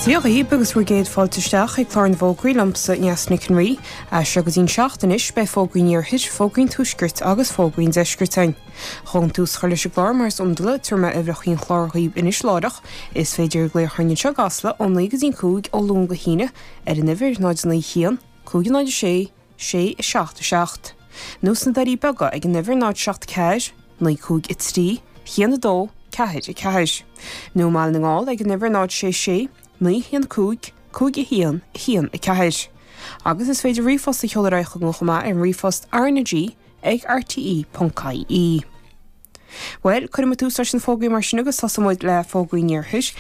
Dia dhaoib agus bhur gcéad fáilte isteach chuig clár na bhfógraí liomsa, Neasa Nic an Rí. As seo go dtí'n seacht anois, beidh fógraí an iarthair, fógraí an tuaiscirt agus fógraí an deiscirt againn. Chun tús a chur leis an gclár mar is iondúil, tabharfaidh mé uimhreacha an chláir dhaoib anois láithreach. Is féidir glaoch orainn anseo i gCasla ó 9 go dtí'n 5 ó Luan go hAoine ar an uimhir 0 9 1 5 0 6 6 7 7. Nó sna Doirí Beaga ag an uimhir 0 7 4 9 5 3 1 2 4 4. Nó i mBaile na nGall ag an uimhir 0 6 6 9 1 5 5 1 1 4. Agus is féidir ríomhphost a sheoladh ar aghaidh chugainn chomh maith ar an ríomhphost rnag ag rte.ie. Bhuel, cuirfidh muid tús leis na fógraí mar sin agus tosóidh muid le fógraí an iarthair.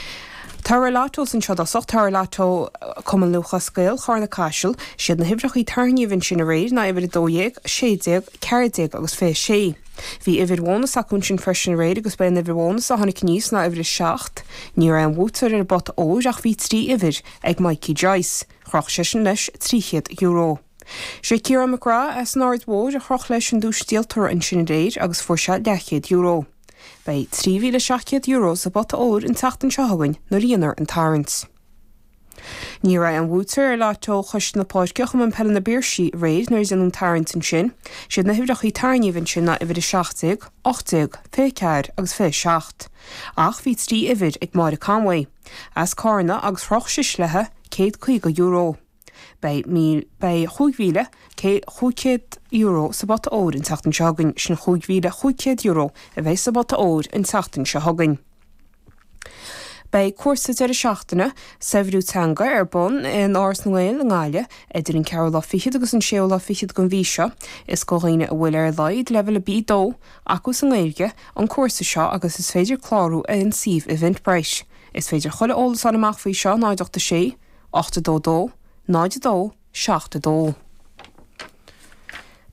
Toradh Lottos anseo i dtosach, Toradh Lotto Cumann Lúthchleas Gael, Charna Caiseal. Siad na huimhreacha tarraingíodh ansin aréir ná uimhir 12, 16, 14 agus 26. Bhí uimhir bhónas acu ansin freisin aréir agus ba é an uimhir bhónas a tháinig aníos ná uimhir 7. Ní raibh aon bhuaiteoir ar an bpota óir ach bhí 3 uimhir ag Mikey Joyce. Chroch seisean leis €300. Sé Ciarán McGrath as an Aird Mhóir a chroch leis an duais díoltóra ansin aréir agus fuair sé leathchéad euro. Beidh €3,700 sa bpota óir an tseachtain seo chugainn nuair a dhéanfar an tarraingt. Ní raibh aon bhuaiteoir ar Lotto Choiste na Páirce Chumann Peile na bPiarsaigh aréir nuair a déanadh an tarraingt ansin. Siad na huimhreacha tarraingíodh ansin ná uimhir 17, 18, 24 agus 27. Ach bhí 3 uimhir ag Máire Conway as Cárna agus chroch sise léi €150. Beidh beidh €5,500 sa bpota óir an tseachtain seo chugainn, sin €5,500 a bheidh sa bpota óir an tseachtain seo chugainn. Beidh cúrsa deireadh seachtaine, saibhriú teanga, ar bun in Áras na nGael i nGaillimh idir an ceathrú lá fichead agus an séú lá fichead den mhí seo. Is do dhaoine a bhfuil ar a laghad leibhéal B2 acu sa nGaeilge an cúrsa seo agus is féidir clárú ar an suíomh Eventbrite. Is féidir chuile eolas a fháil amach faoi seo 0 8 6 8 2 2 0 2 7 2.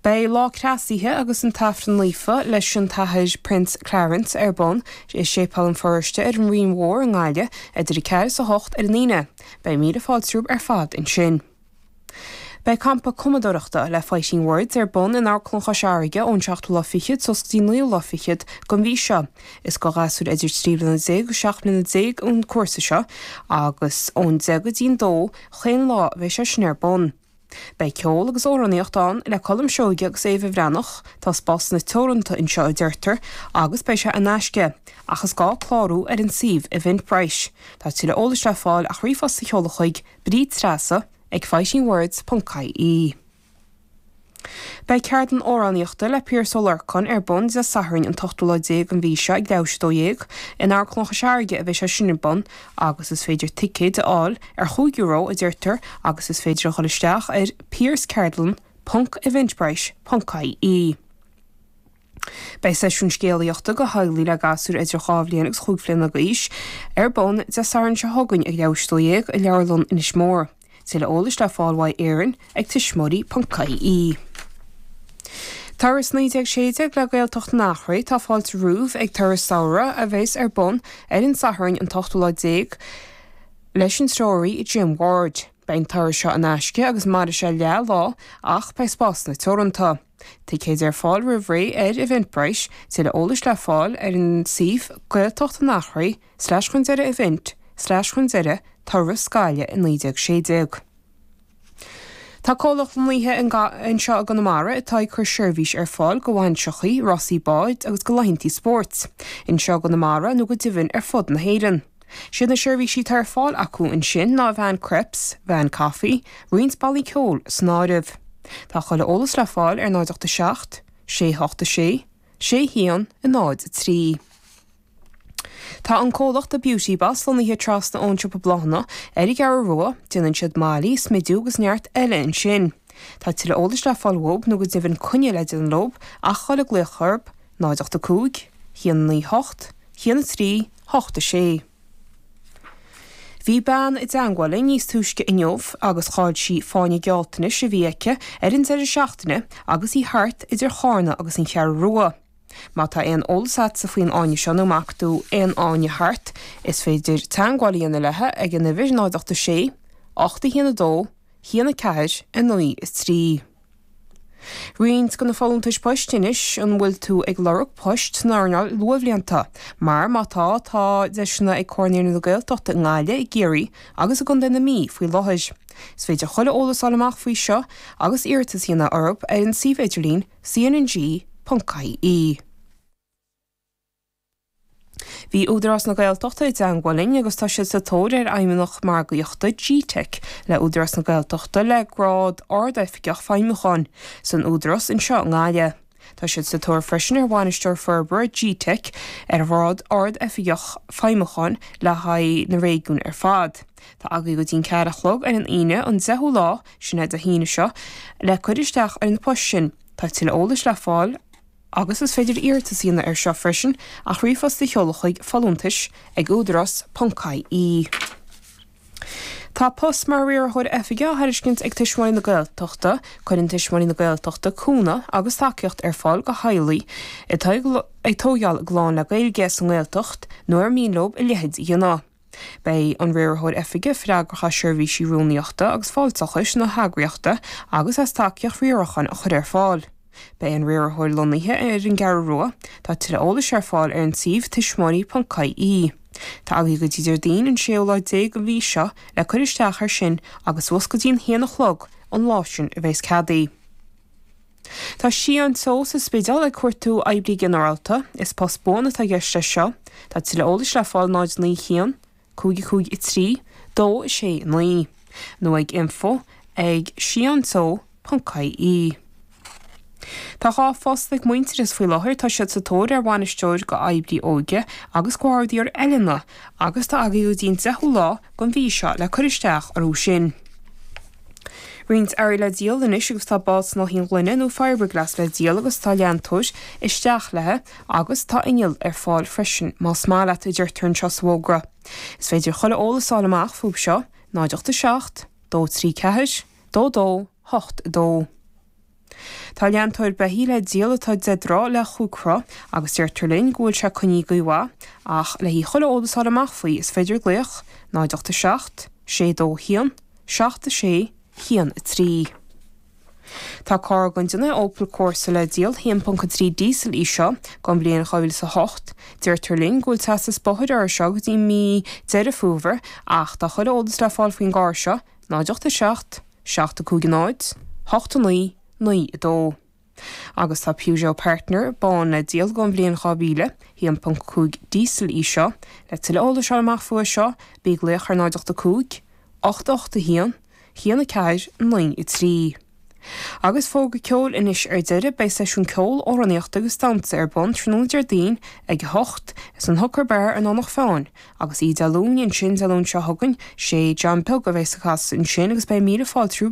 Beidh Lá Cneasaithe agus an tAifreann Naofa leis an tAthair Prince Clarence ar bun i Séipéal an Pharóiste ar an Rinn Mhór i nGaillimh idir 4 is 8 ar an Aoine. Beidh míle fáilte romhaibh ar fad ansin. Beidh campa cumadóireachta le Fighting Words ar bun in Amharclann Chois Fharraige ón seachtú lá fichead suas go dtí an naoú lá fichead den mhí seo. Is do ghasúir idir 13 bliana agus 17 mbliana an cúrsa seo agus ón 10 go dtí'n 2 chaon lá a bheidh sé sin ar bun. Beidh ceol agus amhránaíocht ann le Colm Seoige agus Éabha Bhreathnach, tá spásanna teoranta anseo a deirtear agus beidh sé in aisce ach is gá clárú ar an suíomh Eventbrite. Tá tuilleadh eolais le fáil ach ríomhphost a sheoladh chuig Bríd Treasa ag fightingwords ponc ie. Beidh ceardlann amhránaíochta le Piaras Ó Lorcáin ar bun Dé Sathairn an t-ochtú lá déag den mhí seo ag leathuair tar éis a 12. In Amharclann Chois Fharraige a bheidh sé sin ar bun agus is féidir ticéid a fháil ar €5 a deirtear agus is féidir a dhul isteach ar piarasceardlann ponc eventbrite ponc ie. Beidh seisiún scéalaíochta do theaghlaigh le gasúir idir dhá bhliain agus chúig bhliana d'aois ar bun Dé Sathairn seo chugainn ag leathuair tar éis a 12 i Leabharlann Inis Mór. Tuilleadh eolais le fáil uaidh Erin ag tuismitheoirí.ie. Turas 1916 le Gaeltacht an Eachréidh, tá fáilte romhaibh ag turas samhraidh a bheas ar bun ar an Satharn an t-ochtú lá déag leis an treoraí Jim Ward. Beidh an turas seo in aisce agus mairfidh sé leath lá ach beidh spásanna teoranta. Ticéid ar fáil roimh ré ar Eventbrite, tuilleadh eolais le fáil ar an suíomh Gaeltacht an Eachréidh slash chun deireadh event slash chun deireadh turas Gaillimh i 1916. Tá comhlacht lonnaithe anseo i gConamara atá ag cur seirbhís ar fáil go bhainseachaí, rásaí báid agus go laethantaí spóirt, anseo i gConamara nó go deimhin ar fud na hÉireann. Siad na seirbhísí atá ar fáil acu ansin ná veain crêpes, veain coffee, roinnt bannaí ceoil san áireamh. Tá chuile eolas le fáil ar 0 8 7 6 8 6 6 1 0 3. Tá an comhlacht The Beauty Boss lonnaithe trasna ón siopa bláthanna ar an gCeathrú Rua, déanann siad mailí, smidiú agus neart eile ansin. Tá tuilleadh eolais le fáil uathub nó go deimhin coinne le déanamh leob ach a dhul ag glaoch orthub, 0 8 5 1 9 8 1 3 8 6. Bhí bean i dteangmháil linn níos túisce inniu agus chaill sí fáinne gealltanais a bhí aici ar an deireadh seachtaine agus í thart idir Chárna agus an Cheathrú Rua. Má tá aon eolas agatsa faoin fháinne seo nó má fhaca tú aon fháinne thart, is féidir teangmháil a dhéanamh léi ag an uimhir 0 8 6 8 1 2 1 4 9 3. Roinnt de na folúntais poist anois, an bhfuil tú ag lorg poist san earnáil luathbhlianta? Mar má tá, tá deiseanna ag Comhar Naíonraí na Gaeltachta i nGaillimh, i gCiarraí agus i gContae na Mí faoi láthair. Is féidir chuile eolas a fháil amach faoi seo agus iarratas a dhéanamh orthu ar an suíomh idirlín cnng.ie. Bhí Údarás na Gaeltachta i dteangmháil linn agus tá siad sa tóir ar Fheidhmeannach Margaíochta gteic le Údarás na Gaeltachta le grád Ard-Oifigeach Feidhmiúcháin san Údarás anseo i nGaillimh. Tá siad sa tóir freisin ar Bhainisteoir Forbartha gteic ar ghrád Ard-Oifigeach Feidhmiúcháin le haghaidh na réigiún ar fad. Tá agaibh go dtí'n ceathair a chlog ar an Aoine an 10ú lá, sin é Dé hAoine seo, le cur isteach ar na poist sin. Tá tuilleadh eolais le fáil. Agus is féidir iarratas a dhéanamh air seo freisin ach ríomhphost a sheoladh chuig folúntais ag údarás ponc ie. Tá post mar riarthóir oifige á thairiscint ag Tuismitheoirí na Gaeltachta. Cuireann Tuismitheoirí na Gaeltachta cúnamh agus tacaíocht ar fáil do theaghlaigh atá ag tóigeáil a gclann le Gaeilge sa nGaeltacht nó ar mian leo a leithéid a dhéanamh. Beidh an Riarthóir Oifige freagrach as seirbhísí rúnaíochta agus fáilteachais na heagraíochta agus as tacaíocht riaracháin a chur ar fáil. Beidh an Riarthóir lonnaithe ar an gCeathrú Rua. Tá tuilleadh eolais ar fáil ar an suíomh tuismitheoirí.ie. Tá agaibh go dtí Déardaoin an séú lá déag den mhí seo le cur isteach air sin agus suas go dtí an haon a chlog an lá sin a bheas cead. Tá Sciathán Teo sa Spidéal ag cuartú oibrí ginearálta. Is post buan atá i gceist leis seo. Tá tuilleadh eolais le fáil 0 9 1 5 5 3 2 6 9 nó ag info ag sciathanteo.ie. Tá 2 phost ag Muintearas faoi láthair. Tá siad sa tóir ar bhainisteoir go oibrí óige agus go ardaitheoir oiliúna agus tá agaibh go dtí an 10ú lá den mhí seo le cur isteach orthu sin. Roinnt earraí le díol anois agus tá bád snáithín gloine nó fiberglass le díol agus tá leantóir isteach léi agus tá inneall ar fáil freisin más maith leat, a deirtear anseo sa bhfógra. Is féidir chuile eolas a fháil amach fúthu seo, 0 8 7 2 3 4 2 2 8 2. Tá leantóir beithígh le díol atá 10 dtroigh le chúig throigh agus deirtear linn go bhfuil sé coinnithe go mhaith ach le haghaidh chuile eolas a fháil amach faoi is féidir glaoch 0 8 7 6 2 1 7 6 1 3. Tá carr den déanamh Opel Corsa le díol, 1.3 diesel í seo, don bhliain 2008. Deirtear linn go bhfuil teastas bóthair uirthi seo go dtí mí Deireadh Fómhair ach tá chuile eolas le fáil faoin gcarr seo, 0 8 7 7 5 0 8 9 9 2. Agus tá Peugeot Partner bán le díol don bhliain 2000, 1.5 diesel í seo. Le tuilleadh eolais a fháil amach fúithi seo, bí ag glaoch ar 0 8 5 8 8 1 1 4 9 3. Agus fógra ceoil anois ar deireadh, beidh seisiún ceoil, amhránaíochta agus damhsa ar bun tráthnóna Déardaoin ag 8 san Hooker Bar i nDomhnach Fáin agus oíche Dé Luain ansin, Dé Luain seo chugainn, sé John Beag a bheas ag casadh ansin agus beidh míle fáilte.